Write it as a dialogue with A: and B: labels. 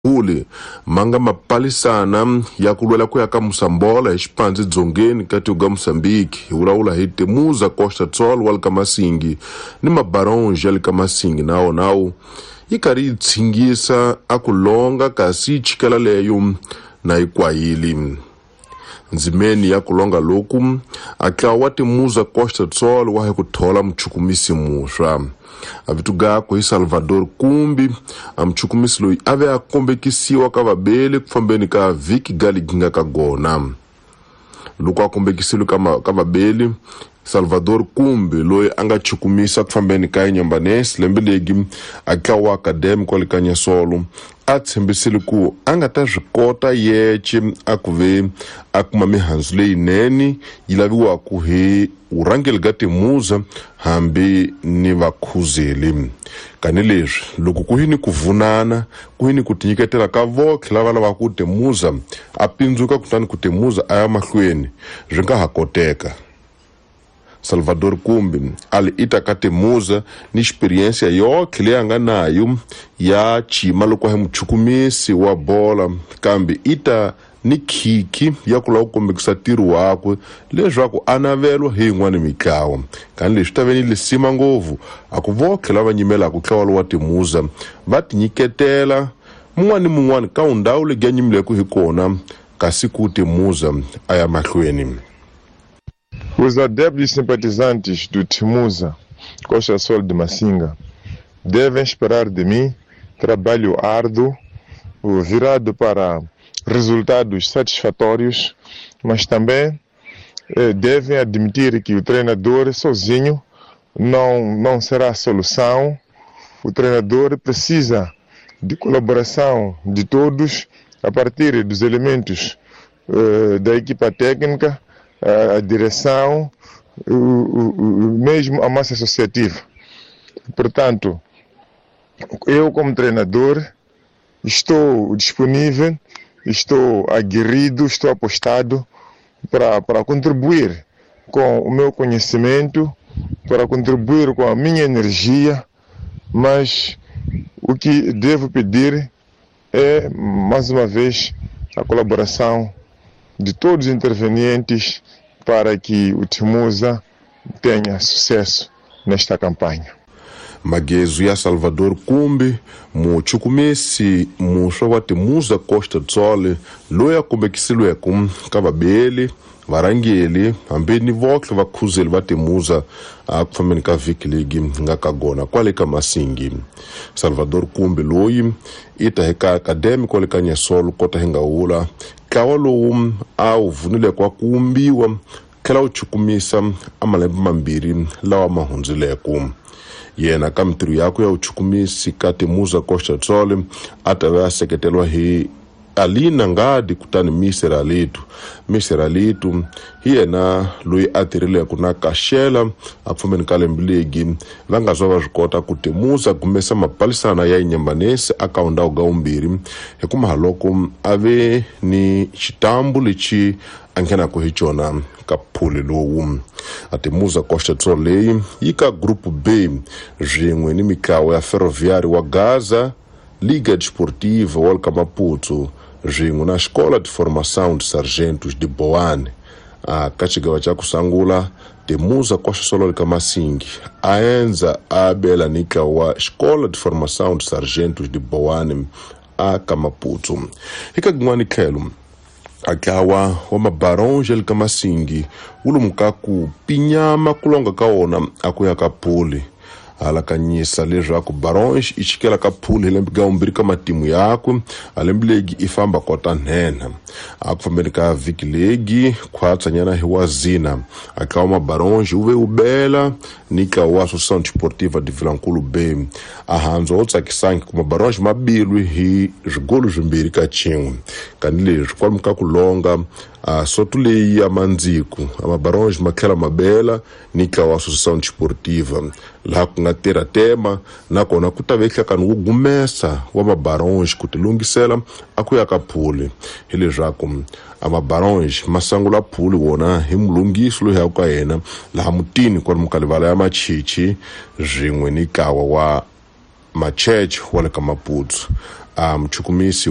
A: Uli ma nga mapalisana ya ku lwela ku ya ka Mosambola hi xipandzi dzongeni ka tiko ga Mozambique. Hi vulavula hi Temuza Costa Tsol wa le ka Masingi ni Mabaronge ya le ka Masingi na wonawu yi karhi yi tshingisa a ku longa kasi yi chikela leyo na yi kwayili. Ndzimeni ya ku longa loku a ntlawa wa Temuza Costa Tsol wa hi ku thola muchukumisi muntshwa. A vito gakwe hi Salvador Kumbi, a muchukumisi loyi a ve a kombekisiwa ka vabeli ku fambeni ka vhiki ga ligi ka gona. Loko a kombekisiwe ka vabeli, Salvador Kumbi loyi a nga chukumisa ku fambeni ka Inyambanesi lembe legi a ntlawa wa Academy kwale ka Nyasolo a tshembisile ku a nga ta swi kota yece a ku ve a kuma mihandzu leyinene yi laviwaka hi vurhangeri bya Temuza hambi ni vakhuzeli. Kanileswi loko ku hi ni ku vunana ku hi ni ku tinyiketela ka votlhe lava lavaka ku Temuza a pindzuka kutani ku Temuza a ya mahlweni swi nga ha koteka. Salvador Kumbi a li ita ka Temuza ni experiência yotlhe leyi a nga nayo ya chima loko a hi muchukumisi wa bola, kambe ita ni khikhi ya ku lava ku kombekisa ntirho wakwe leswaku a navelwa hi yin'wana mitlawa. Kani leswi ta ve ni lisima ngopfu a ku votlhe lava nyimelaka ntlawa lowa Temuza va tinyiketela mun'wana ni mun'wana ka ndhawu leyi a nyimileke hi kona kasi ku Temuza a ya mahlweni.
B: Os adeptos e simpatizantes do Temuza Costa Sol de Massinga devem esperar de mim trabalho árduo, virado para resultados satisfatórios, mas também devem admitir que o treinador sozinho não será a solução. O treinador precisa de colaboração de todos, a partir dos elementos da equipa técnica, a direção, mesmo a massa associativa. Portanto, eu como treinador estou disponível, estou aguerrido, estou apostado para contribuir com o meu conhecimento, para contribuir com a minha energia, mas o que devo pedir é, mais uma vez, a colaboração de todos os intervenientes para que o Temuza tenha sucesso nesta campanha.
A: Magezu ya Salvador Kumbi, muchukumisi muntshwa wa Temuza Costa Tsol loyi a kombekisiweke ka vabeli varhangeli hambi ni votlhe vakhuzeli va Temuza a ku fambeni ka vhiki leyi nga ka gona kwale ka Masingi. Salvador Kumbi loyi i ta hi ka Academy kwale ka Nyasolo kota hi nga wula ntlawa lowu a wu vunileke wa ku wumbiwa tlhela wu chukumisa a malembe mambirhi lawa ma hundzileke. Yena ka mintirho yakwe ya vuchukumisi ka Temuza Costa Tsol a ta va a seketeriwa hi Alina Ngadi kutani Mr Alitu. Mr Alitu hi yena loyi a tirhileke na Kashela a pfumeni ka lembe legi va nga zwa va swi kota ku Temuza gumesa mapalisana ya Inyambanesi a ka ndhawu ga vumbirhi hi kuma loko a ve ni xitambu lexi a nghenaka hi xona ka phuli lowu. A Temuza Costa Tsol leyi yi ka Group B swin'we ni mitlawa ya Ferroviário wa Gaza, Liga Desportiva wa le ka Maputo swin'we na Escola de Formação de Sargentos de Boane. A ka xigava xa ku sungula Temuza Costa Sol ka Masingi a endza a bela ni ntlawa wa Escola de Formação de Sargentos de Boane a ka Maputo. Hi ka kun'wani tlhelo a ntlawa wa Mabaronge le ka Masingi wu lomu ka ku pinyama ku longa ka wona a ku ya ka phuli. Alakanyisa leswaku Baronge i chikela ka phuli hi lembe ga vumbirhi ka matimu yakwe a lembe legi i famba kota nhenha. A ku fambeni ka vhiki legi khwatsanyana hi wa zina a ntlawa wa Mabaronge wu ve wu bela ni ntlawa wa Associação Desportiva de Vilankulu B. A handzu wo tsakisangi ku Mabaronge ma bilwi hi swigolo swimbirhi ka xin'we. Kanileswi kwalomu ka ku longa a soto leyi ya mandziku a Mabaronge ma tlhela ma bela ni ntlawa wa Associação Desportiva laha ku nga tirha tema nakona ku ta ve nhlakano wo gumesa wa Mabaronge ku tilunghisela a ku ya ka phuli. Hileswaku a Mabaronge ma sungula phuli wona hi mulunghisi loyi ya ka yena laha mutini kwalomu ka livala ya Machichi swin'we ni ntlawa wa Machurch wa le ka Maputo. A muchukumisi.